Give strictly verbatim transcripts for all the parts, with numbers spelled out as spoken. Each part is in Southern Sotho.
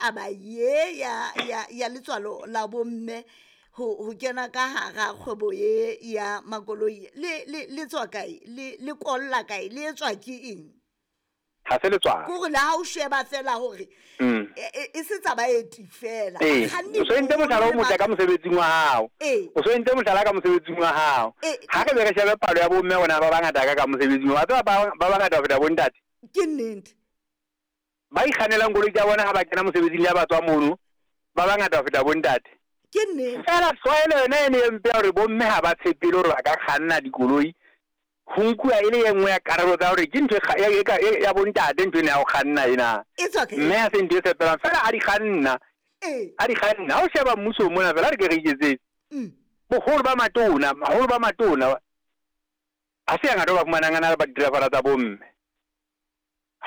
Taba ye ya ya ya letswalo la bomme ho ho kena ka hara kgwebo ye ya makoloi le le le tswa kae, le le kolla kae, le etswa ke eng? Ha se letswalo. Ke hore le ha o sheba fela hore Mm. e e- e se tsa baeti fela. Ee, Bakganni o so entse mohlala o motle ka mosebetsing wa hao. Ee. O so entse mohlala ka mosebetsing wa hao. Ee. Ha re be re shebe palo ya bomme rona ba bangata ka ka mosebetsing, wa tseba ba ba bangata ho feta bontate. Ke nnete. Ba ikgannelang koloi tsa bona ha ba kena mosebetsing le ha ba tswa mono, ba bangata ho feta bontate. Ke nnete. Fela tlwaelo yona e ne e mpe ya hore bomme ha ba tshepele hore ba ka kganna dikoloi, ho nkuwa e le e nngwe ya karolo tsa hore ke ntho e kga- e- e ka- e- ya bontate ntho ena ya ho kganna ena. E tswa kae? Mme ha se ntho e tshepelang fela a di kganna, Ee. a di kganna. Ha o sheba mmusong mona fela, ha re ke re iketsetse. Mm. Boholo ba matona, baholo ba matona, ha se hangata o ba fumanang a na le ba di-driver tsa bomme.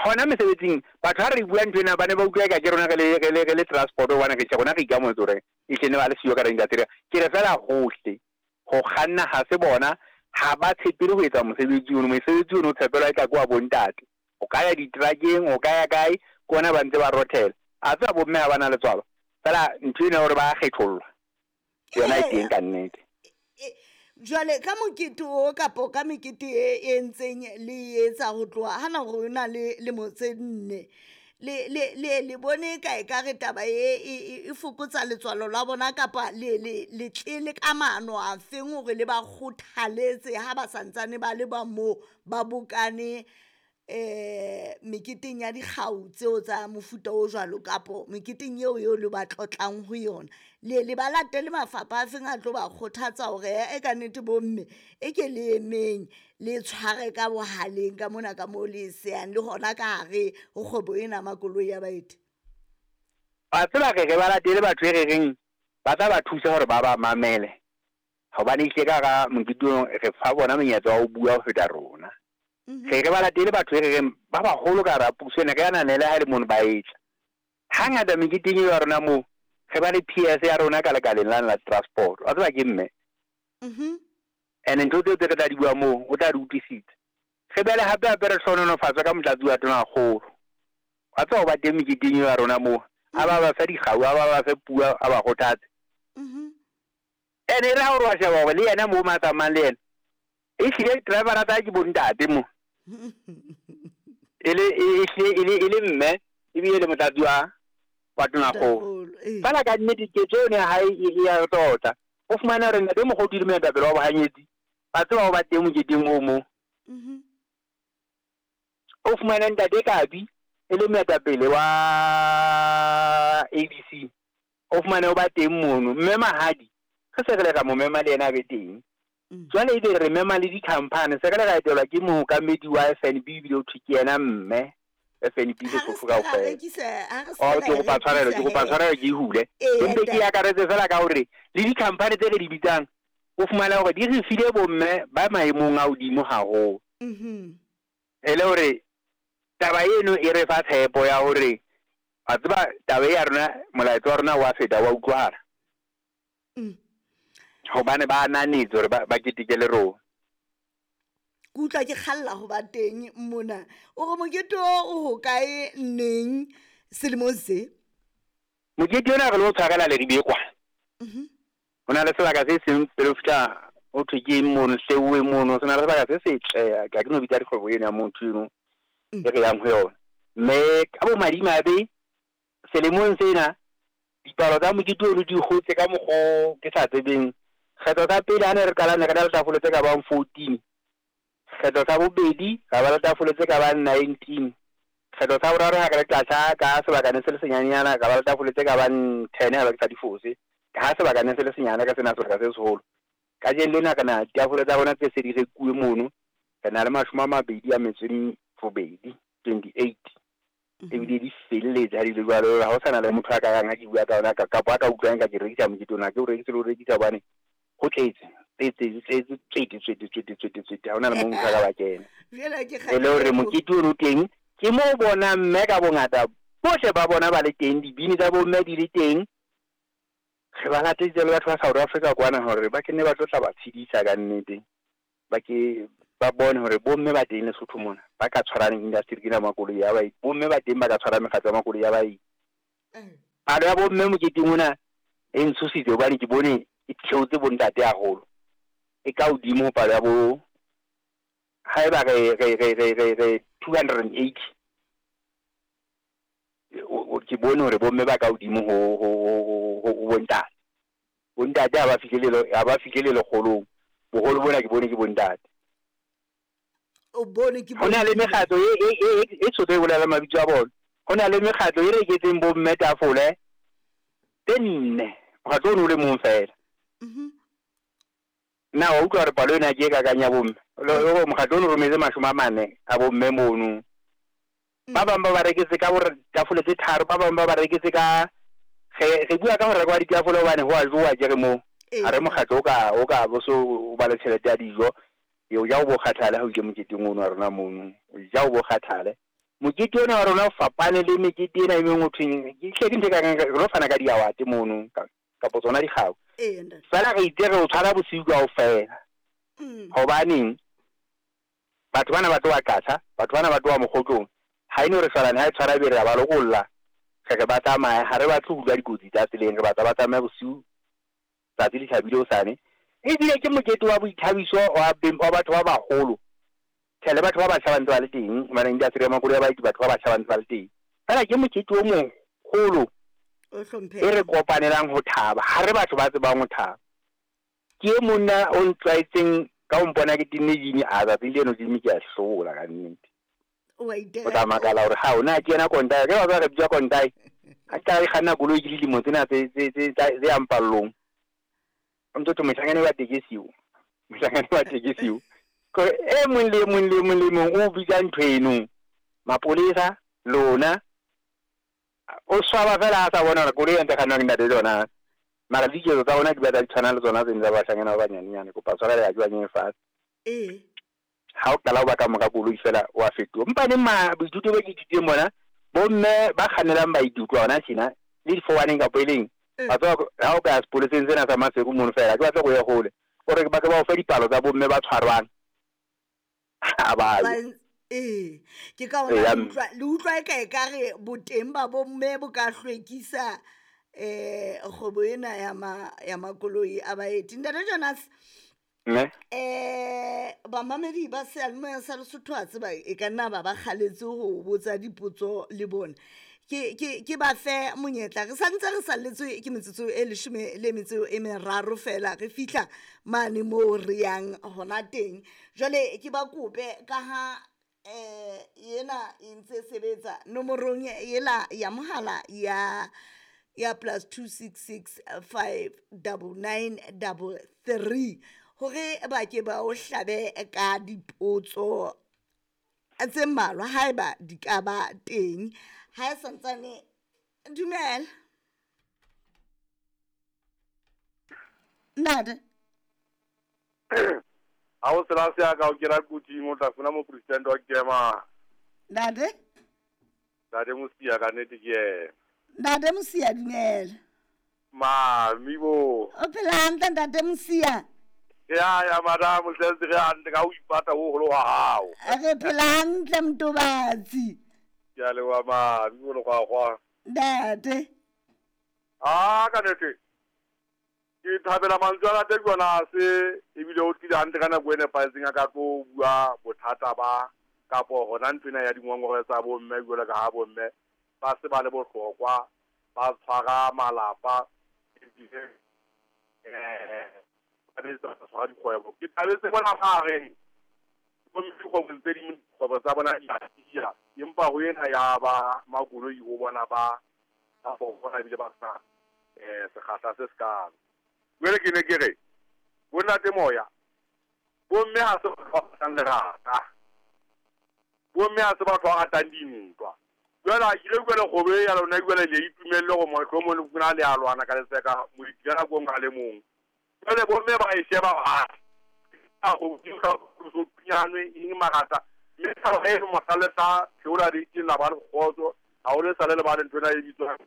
Hona mesebetsing, batho ha re bua ntho ena ba ne ba utlwa eka ke rona re le re le re le transport hobane re tjhe rona re ikamohetse hore ehlile ne ba le siyo ka industry. Ke re fela hohle, ho kganna ha se bona, ha ba tshepele ho etsa mosebetsi ono. Mosebetsi ono o tshepelwa eka ke wa bontate. O ka ya ditrakeng, o ka ya kae, ke ona ba ntse ba rothela. A tseba bomme ha ba na letswalo. Fela ntho ena ya hore ba kgethollwa, yona e teng ka nnete. E, jwale ka mokete o kapo ka mekete e e ntseng le etsa ho tloha hana hore o na le lemo tse nne, le le le le bone ka e ka re taba e e e- e fokotsa letswalo la bona, kapa le le le tlele ka maano a feng hore le ba kgothaletse ha ba santsane ba le ba moo ba bokane eh meketeng ya dikgau tseo tsa mofuta o jwalo, kapo meketeng eo eo le ba tlotlang ho yona, le le ba latele mafapha a feng a tlo ba kgothatsa hore e ka nnete bomme e ke le emeng le tshware ka bohaleng ka mona ka moo le e seyang le hona ka hare ho kgwebo ena ya makoloi ya baeti? Wa tseba re re ba latele batho e re reng ba tla ba thusa hore ba ba mamele. Hobane ehlile ka hara mokete ono re fa bona monyetla wa ho bua ho feta rona. Mhm. Re re ba latele batho e re reng ba baholo ka hara puso ena, re ananele ha e le mono ba etla. Hangata meketeng eo ya rona moo, re ba le P S ya rona ka lekaleng lane la transport. Wa tseba ke mme. Mhm. Ene ntho tseo tse re tla di bua moo, o tla di utlwisisa. Re be le hape hape re hlohonolofatswe ka motlatsi wa tonakgolo. Wa tseba ho ba teng meketeng eo ya rona moo, a ba ba fe dikgau, a ba ba fe puo, a ba kgothatse. Mhm. Ene e re ha o re wa sheba hore le yena moo mo a tsamayang le yena, ehlile driver tsa hae ke bontate mo. E le e ehlile e le e le mme ebile le motlatsi wa wa tonakgolo. Tonakgolo, ee. Fela ka nnete ketso eno ya hae e e ya re tlotla. O fumane hore ntate Mokgothu le moetapele wa bohanyetsi, ba tseba ho ba teng moketeng oo moo. Mhm. O fumane ntate Kabi e le moetapele wa A B C. O fumane o ba teng mono. Mme Mahadi, re se re le ra mo mema le yena a be teng. Mm. Jwale ebe re mema le di-company, se re le ra etelwa ke mookamedi wa F N B ebile ho thwe ke yena mme F N B Ha re Lesotho se ka ra kaofela. rekisa, ha re se Oh, ka ke ra kopa tshwarelo, rekisa ke kopa he. tshwarelo ke e hule. Ee, Empe ke ntate. akaretse fela ka hore le di-company tse re di bitsang, o fumane hore di re file bomme ba maemong a hodimo haholo. Mhm. E le hore taba eno e re fa tshepo ya hore wa tseba taba e ya rona, molaetsa wa rona wa feta wa utlwahala. Mm. Hobane ba ananetse hore ba ba keteke le rona. Ke utlwa ke kgalla ho ba teng mona. O re mokete o o hokae, neng, selemong se? Mokete ona re lo tshwarela Leribe kwana. Mhm. Ho na le sebaka se seng pele o fihla ho thwe ke eng mono, Hleuwe mono, se na le sebaka se setle, ha ke no bitsa dikgwebo eno ya motho eno Mm. e re yang ho yona. Mme ka bomadimabe selemong sena dipalo tsa mokete ono di hotse ka mokgo ke sa tsebeng. Kgetho tsa pele ha ne re qala ne re na le tafole tse ka bang fourteen. Kgetho sa bobedi ra ba le tafole tse ka bang nineteen. Kgetho sa boraro ha re le tlatsa ka sebaka ne se le senyanenyana ra ba le tafole tse ka bang ten ha ke sa di fose. Ka ha sebaka ne se le senyane ka sena sebaka se seholo. Kajeno lena re na ditafole tsa rona tse se di rekuwe mono, re na le mashome a mabedi a metso e robedi, twenty-eight. Ebile di felletse ha di le jwalo, ha ho sana le motho a ka yang ha ke bua ka ona kapa a ka utlwang ka ke rekisa mokete ona, ha ke o rekise le ho rekisa hobane ho tletse, tletse, tletse, tswete, tswete, tswete, tswete, tswete, ha hona le moo motho a ka ba kena. Jwale ke E le hore mokete ono teng, ke moo bonang mme ka bongata bohle ba bona ba le teng, dibini tsa bomme di le teng. Re ba lateditse le batho ba South Africa kwana hore ba kenne ba tlo tla ba tshedisa ka nnete. Ba ke ba bone hore bomme ba teng Lesotho mona, ba ka tshwarang industry ena ya makoloi ya baeti. Bomme ba teng ba ka tshwarang mekgatlo ya makoloi ya baeti. Palo ya bomme moketeng ona e ntshositse hobane ke bone e theotse bontate haholo. E ka hodimo ho palo ya bo haeba re re re re re re two hundred and eighty ke bone hore bomme ba ka hodimo ho ho ho ho bontate. Bontate ha ba fihlele ha ba fihlele lekgolong. Boholo bona ke bone ke bontate. O bone ke Ho na le mekgatlo e e e e tshotse e bolela mabitso a bona. Ho na le mekgatlo e reketseng bomme tafole tse nne. Mokgatlo ono o le mong feela. Mhm. Na wa utlwa hore palo ena ke e kakang ya bomme. Mokgatlo ono o rometse mashome a mane a bomme mono. Ba bang ba ba reketse ka hore tafole tse tharo, ba bang ba ba reketse ka re re bua ka ho rekwa ditafole hobane ho a jowa ke re moo. Ha re mokgatlo o ka o ka bo so o ba le tjhelete ya dijo. O ja o bo kgathale ha o ile moketeng ono wa rona mono. O ja o bo kgathale. Mokete ona wa rona o fapane le mekete ena e meng ho thweng ke hle ke ntho e kang re lo fana ka di-award mono kapa tsona dikgau. Feela re itse re o tshwara bosiu kaofela. Hobaneng batho bana ba tloha Qacha, batho bana ba tloha Mokgotlong. Ha eno re shwalane ha e tshwara ebe re a ba lokolla. Re re ba tsamaye, ha re batle ho utlwa dikotsi tsa tseleng, re batla ba tsamaye bosiu tsatsi le tjhabile hosane. Ebile ke mokete wa boithabiso wa wa batho ba baholo. Tjhe le batho ba batjha ba ntse ba le teng, hobane industry ya makoloi a baeti batho ba batjha ba ntse ba le teng. Feela ke mokete o moholo e re kopanelang ho thaba. Ha re batho ba tsebang ho thaba. Ke e monna o ntlwaetseng ka ho mpona ke tenne jini a tsatsing leno jimi ke a hlola ka nnete. O tla makala hore ha ona ke yena kontai, ke ba re bitswa kontai. Ha ke qala ke kganna koloi ke dilemo tsena tse tse tse tse yang pallong. O ntso thwe mohlangane wa tekesi o. Mohlangane wa tekesi o. Kore e mong le mong le mong le mong o bitsa ntho eno. Mapolesa lona o swaba fela a sa bona hore koloi e ntse kgannwang ke ntate tsona. Mara diketso tsa bona di batla di tshwana le tsona tse tsa bashanyana ba banyanenyane. Kopa tshwarelo ya ke ba nyenyefatse. Eh. Ha o qala ho ba ka mora koloi fela wa fetoha. Empa neng ma boithuto bo ke ithutileng bona, bomme ba kgannelang baithuti hona tjena le difowaneng kapa e leng. Ba tswa ha o ka ya sepoleseng sena sa Maseru mono fela ke batla go ye hole. O re ba ke ba o fe dipalo tsa bomme ba tshwarwang. Ha ba ye. Eh, ke ka hona le utlwa le utlwa e ka e ka re boteng ba bomme bo ka hlwekisa eh kgwebo ena ya ma ya makoloi a baeti. Ntate Jonas, Ne? Eh bamamedi ba seyalemoya sa Lesotho a tseba e ka nna ba ba kgaletse ho botsa dipotso le bona. Ke ke ke ba fe monyetla re santse re salletswe ke metsotso e leshome le metso e meraro fela re fihla mane moo re yang hona teng. Jwale ke ba kope ka ha eh yena e ntse sebetsa nomorong yela ya mohala ya ya plus two six six five double nine double three hore ba ke ba o hlabe ka dipotso tse mmalwa haeba di ka ba teng. Ha e santsane dumela. Ntate. Ha o sela se ya ka o kera kuting o tla funa mo president wa Kema. Ntate? Ntate Mosia ka nnete ke yena. Ntate Mosia dumela. Mami bo. O phela hantle Ntate Mosia? Ya ya madam o tletse re hantle ka o ipata ho holo wa hao. Re phela hantle Mtobatsi. Ke a leboha mami bo lekgwakgwa. Ntate. Ah ka nnete. Ke thabela mantswe a Ntate Jonas ebile o tlile hantle ka nako e nepahetseng a ka tlo bua bothata ba kapo hona nthwena ya dingongoreo tsa bomme jwalo ka ha bomme ba se ba le bohlokwa ba tshwara malapa ebile eh ba tshwara dikgwebo. Ke thabetse bona ba re bomme dikgwebong tse ding dikgwebo tsa bona di a tiya, empa ho ena ya ba makoloi ho bona ba ba fokola ebile ba sa eh sekgahla se sekalo. Jwale ke ne ke re bo ntate moya bomme ha se batho ba ratang lerata, bomme ha se batho ba ratang dintwa. Jwale ha ke ile utlwela kgwebo e ya lona jwale le itumelle hore mohlomong le fumana le a lwana ka letseka moeti ka nako e nngwe a le mong. Jwale bomme ba e sheba ba a go so pinyanwe eng marata mme taba e mohla le tla theola rating la ba le kgotso ha o le sale le ba le ntho ena e bitswang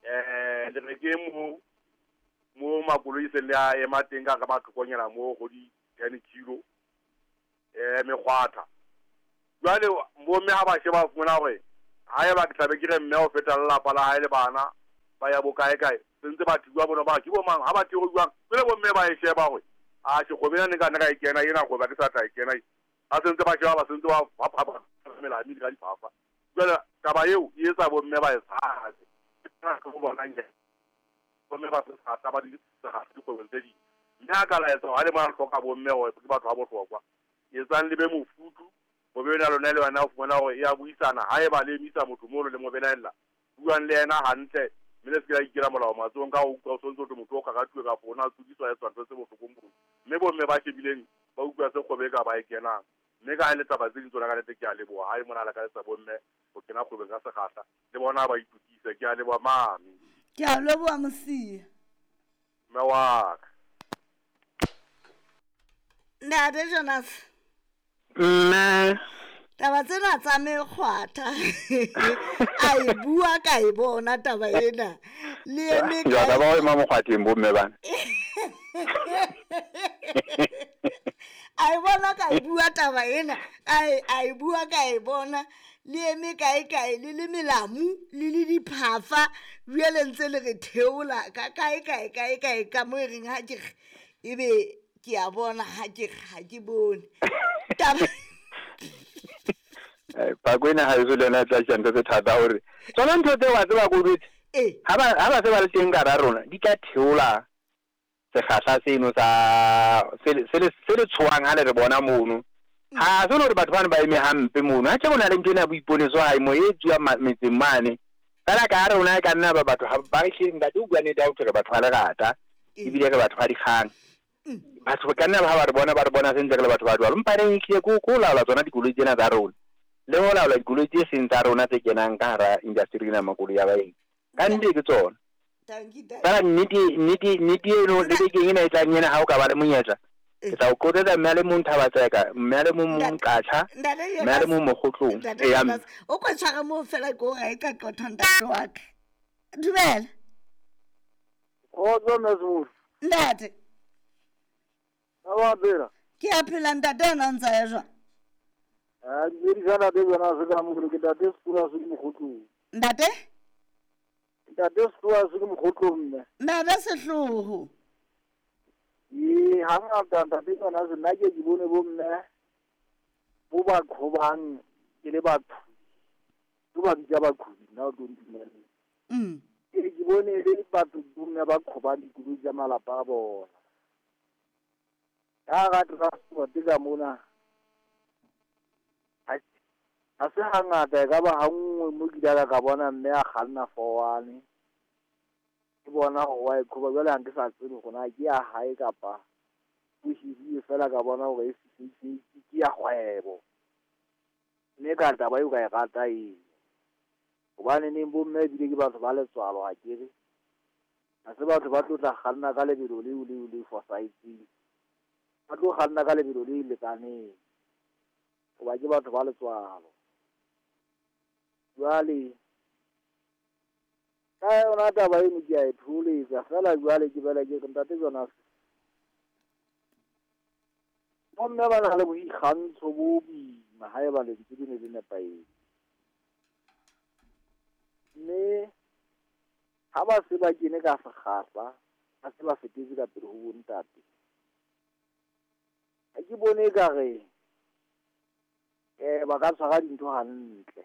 eh le re ke mo mo makoloi se le a ema teng ka ka mathokonyana mo go di ten kilo eh mekgwatha. Jwale bomme ha ba sheba fumana hore Haeba ke tlabe ke re mme o feta lelapa la hae le bana ba ya bokae kae sentse ba thiwa bona ba ke bo mang ha ba thiwa jwang pele bo mme ba e sheba hore a ke kgwebo ena ne ka ne ka e kena ena kgwebo ke sa tla e kena ha sentse ba sheba ba sentse ba ba mela mme ka diphafa jwale taba eo e etsa bo mme ba e tshabe ka go bona nje bo mme ba se sa ba di sa dikgwebong tse ding mme a ka laetsa ha le mona hloka bo mme hore ke batho ba bohlokwa etsang le be mofutu bo be na lona le wena o fumana hore e a buisana haeba le emisa motho mono le mo belaella buang le yena hantle mme le se ke la ikela molao matsohong ka ho utlwa o sontse o thwe motho o kgakathuwe kapa o na tsudiswa etswa ntho tse bohlokong bono mme bomme ba shebileng ba utlwa se kgwebo e ka ba e kenang mme ka ha le taba tse ding tsona ka nnete ke a leboha ha e mona lakaletsa bomme ho kena kgwebong ka sekgahla le bona ba itokise ke a leboha mami ke a leboha Mosia mme wa ka Ntate Jonas mme taba tsena tsa mekgwatha a e bua ka e bona taba ena le eme ka ba o ema mokgwatheng bomme bana a e bona ka e bua taba ena a e bua ka e bona le eme kae kae le le melamu le le diphafa bjale ntse le re theola ka kae kae kae kae ka mo e reng ha ke ebe ke a bona ha ke ha ke bone taba Pakwena ha eso le yona e tla tjha ntho tse thata hore tsona ntho tseo wa tseba ko jwetse ha ba ha ba se ba le teng ka hara rona di tla theola sekgahla seno sa se se se le tshohang ha le re bona mono ha se le hore batho bano ba eme hampe mono ha tje bona le ntho ena ya boiponeso hae mo e etsuwang metseng mane fela ka hare rona e ka nna ba batho ba re hleng ntate o bua nnete ha ho thwe re batho ba lerata ebile re batho ba dikgang batho ba ka nna ba ba re bona ba re bona sentle re le batho ba jwalo empa reng ehlile ko ko laola tsona dikoloi tsena tsa rona le ho laola dikoloi tse seng tsa rona tse kenang ka hara industry ena makoloi ya baeng ka nnete ke tsona fela nnete nnete nnete eno le bekeng ena e tlang ena ha o ka ba le monyetla ke tla o qoqetsa mme a le mong Thabatseka mme a le mong Mqatjha mme a le mong Mokgotlong o ko tshware moo fela ke o ra e ka qotha ntate wa ka dumela kgotso mme Seburu ntate a phela ke a phela ntate ena o ntsa ya jwang a dumedisa ntate Jonas ka mogolo ke ntate Setura se ke Mokgotlong ntate ntate Setura se ke Mokgotlong mme ntate Sehloho ee hangata ntate Jonas nna ke ke bone bomme bo ba qhobang ke le batho bo ba bitsa baqhobi nna o tlo ntumella ke ke bone e le batho bomme ba qhobang dikoloi tsa malapa a bona ka hara transport ka mona ha se hangata e ka ba ha nngwe mo ke ile ka bona mme a kganna fowane ke bona hore wa e qhoba jwale ha nke sa tsebe hore na ke ya hae kapa o hirile fela ka bona hore e ke ya kgwebo mme ka taba eo ka e rata eo hobane neng bomme ebile ke batho ba letswalo ha ke re ha se batho ba tlo tla kganna ka lebelo leo leo le fosahetseng ba tlo kganna ka lebelo le lekaneng hoba ke batho ba letswalo jwale ka yona taba eno ke a e tholetsa fela jwale ke bela ke re ntate Jonas bomme ba na le boikgantsho bo boima haeba lentswe le ne le nepahetse mme ha ba se ba kene ka sekgahla ba se ba fetetse ka pele ho bontate ha ke bone ekare eh ba ka tshwara dintho hantle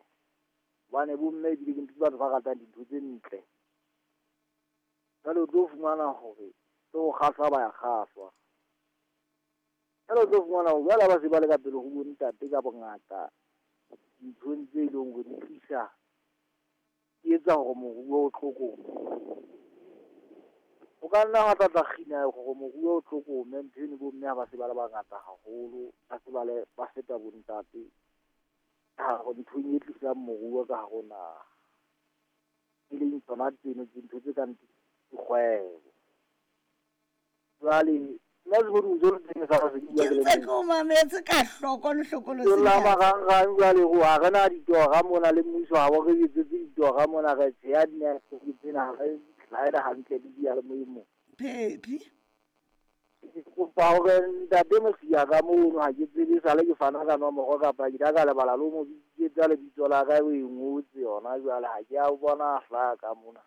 hobane bomme ebile ke ntho batho ba ratang dintho tse ntle jwale o tlo fumana hore tse ho kgahlwa ba ya kgahlwa jwale o tlo fumana hore jwale ha ba se ba le ka pele ho bontate ka bongata dinthong tse leng hore di tlisa di etsa hore moruo o tlokome o ka nna wa tla tla kgina hore moruo o tlokome ntho eno bomme ha ba se ba le bangata haholo ba se ba le ba feta bontate ka hare nthong e tlisang moruo ka hare ho naha e leng tsona tseno dintho tse kang dikgwebo jwale nna Seburu o ntso le teng sa se ke bua ke ntse ke o mametse ka hloko le hlokolosi la marangrang jwale ho ha re na ditora mona le mmuso ha bo re etsetse ditora mona re tsheya dinetwork tsena ha re tlhaela hantle le diyalemoyeng mo Phephi Ke kopa hore ntate Mosia ka mono ha ke tsebe sale ke fana ka nomoro kapa ke ka lebala le mo bitsetsa lebitso la ka o e ngotse yona jwale ha ke a bona a hlaha ka mona.